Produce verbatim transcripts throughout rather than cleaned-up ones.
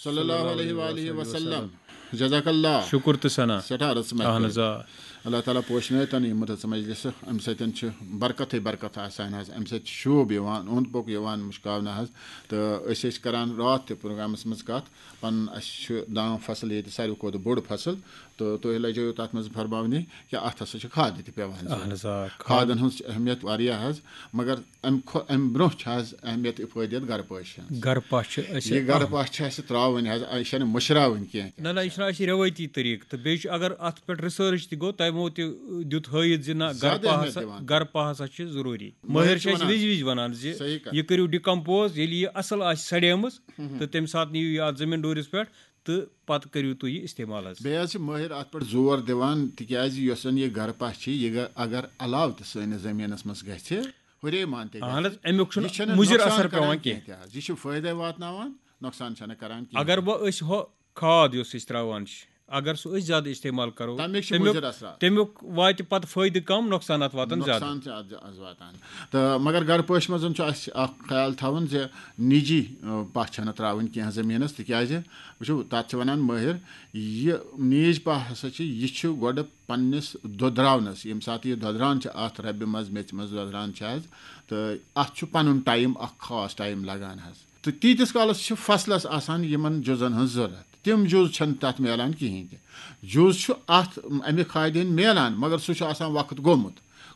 صلی اللہ علیہ وآلہ وسلم۔ جزاک اللہ۔ شُکُر تہٕ ثنا۔ سٮ۪ٹھاہ رٕژ اہن محفل۔ حظ، آ۔ اللہ تعالیٰ پوشنٲے تن یہِ مُتہٕ مجلس، امہِ سۭتۍ چھِ برکتٕے برکت آسان حظ، امہِ سۭتۍ چھُ شوٗب یِوان، اوٚنٛد پوٚک یِوان مُشکاونہٕ حظ۔ تہٕ أسۍ ٲسۍ کران راتھ تہِ پروگرامس منٛز کتھ، پنُن اسہِ چھُ دان فصل ییٚتہِ ساروی کھۄتہٕ بوٚڑ فصل، تہٕ تُہۍ لٔجٲیِو تتھ منٛز فرماونہِ کہِ اتھ ہسا چھِ کھادٕ تہِ پٮ۪وان ضروٗرت۔ اہن حظ، آ۔ کھادن ہٕنٛز چھِ اہمیت واریاہ حظ، مگر امہِ کھۄ امہِ برونٛہہ چھِ حظ اہمیت افٲدیت گرٕ پٲشہِ ہٕنٛز۔ گرٕ پاہ چھِ أسۍ یہِ گرٕ پاہ چھِ اسہِ ترٛاوٕنۍ حظ، یہِ چھنہٕ مٔشراوٕنۍ کینٛہہ۔ نہ نہ، یہِ چھُنہٕ اَسہِ رٮ۪وٲیتی طریٖقہٕ، تہٕ بیٚیہِ چھُ، اگر اَتھ پٮ۪ٹھ ریسرچ تہِ گوٚو، تِمو تہِ دیُت ہٲیِتھ زِ نہ، گرٕ زیادٕ پاہس اہمیت دِوان۔ گرٕ پاہس ہا چھِ ضروٗری۔ مٲہِر مٲہِر چھِ چھِ اَسہِ وَنان۔ وِزِ وِزِ وَنان زِ صحیح کَتھ۔ یہِ کٔرِو ڈِکمپوز، ییٚلہِ یہِ اَصٕل آسہِ سڑیمٕژ، تہٕ تَمہِ ساتہٕ نِیِو یہِ اَتھ زٔمیٖن ڈوٗرِس پٮ۪ٹھ تہٕ پَتہٕ کٔرِو تُہۍ یہِ استعمال حظ۔ بیٚیہِ حظ چھِ مٲہِر اَتھ پٮ۪ٹھ زور دِوان، تِکیٛازِ یۄس زَن یہِ گرٕ پاہ چھِ، یہِ گہ- اگر علاوٕ تہِ سٲنِس زٔمیٖنَس منٛز گژھِ، ہُرے مان تہِ گژھِ۔ اہن حظ، اَمیُک چھُنہٕ یہِ چھَنہٕ مُضِر نۄقصان اثر کران پٮ۪وان کینٛہہ۔ تہِ حظ۔ یہِ چھُ فٲیدَے واتناوان، نۄقصان چھَنہٕ کران کِہیٖنۍ۔ اگر وۄنۍ أسۍ ہُہ کھاد یۄس أسۍ ترٛاوان چھِ، اگر سُہ أسۍ زیادٕ استعمال کرو، تَمِکۍ چھِ تَمیُک- مُضِر اثرات۔ تَمیُک واتہِ پَتہٕ فٲیدٕ کَم، نۄقصانات واتَن زیادٕ۔ نۄقصان چھِ اَتھ ز- اَز واتان۔ تہٕ مگر گرٕ پٲشہِ منٛز چھُ اَسہِ اَکھ خیال تھاوُن زِ نِجی، اَ، پاہ چھَنہٕ ترٛاوٕنۍ کینٛہہ زٔمیٖنَس، تِکیٛازِ وٕچھِو، تَتھ چھِ وَنان مٲہِر، یہِ نیج پاہ ہسا چھِ، یہِ چھُ گۄڈٕ پنٛنِس دۄدراونَس، ییٚمہِ ساتہٕ یہِ دۄدران چھِ اَتھ رَبہِ منٛز، میٚژِ منٛز دۄدران چھِ حظ، تہٕ اَتھ چھُ پَنُن ٹایم، اَکھ خاص ٹایم لَگان حظ۔ تہٕ تیٖتِس کالَس چھِ فصلَس آسان یِمَن جُزَن ہٕنٛز ضوٚرَتھ۔ تِم جُز چھَنہٕ تَتھ میلان کِہیٖنۍ تہِ۔ جُز چھُ اَتھ اَمہِ کھادِ ہٕنٛدۍ میلان، مگر سُہ چھُ آسان وقت گوٚمُت۔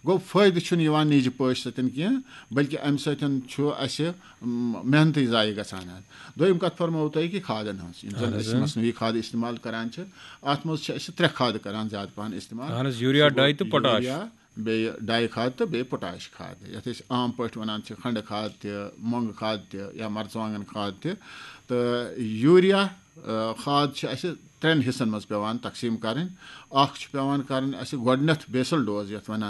گوٚو، فٲیدٕ چھُنہٕ یِوان نیجہِ پٲشہِ سۭتۍ کینٛہہ، بلکہِ اَمہِ سۭتۍ چھُ اَسہِ، م، محنتٕے ضایع گژھان حظ۔ دوٚیِم کَتھ فرمٲوو تۄہہِ کہِ کھادَن ہٕنٛز، یِم زَن أسۍ مصنوعی کھادٕ استعمال کران چھِ، اَتھ منٛز چھِ أسۍ ترٛےٚ کھادٕ کران زیادٕ پَہَن استعمال۔ اہن حظ، یوٗریا، سُہ گوٚو ڈاے تہٕ پوٹاش۔ یوٗریا، بیٚیہِ ڈاے کھاد تہٕ بیٚیہِ پوٹاش کھاد، یَتھ أسۍ عام پٲٹھۍ وَنان چھِ کھنٛڈٕ کھاد تہِ، مۄنٛگہٕ کھاد تہِ یا مَرژٕوانٛگَن کھاد تہِ۔ تہٕ یوٗریا، آ، کھاد چھِ اَسہِ ترٛٮ۪ن حِصَن منٛز پٮ۪وان تقسیٖم کَرٕنۍ۔ اَکھ چھُ پٮ۪وان کَرٕنۍ اَسہِ گۄڈٕنٮ۪تھ بیسل ڈوز، یَتھ وَنان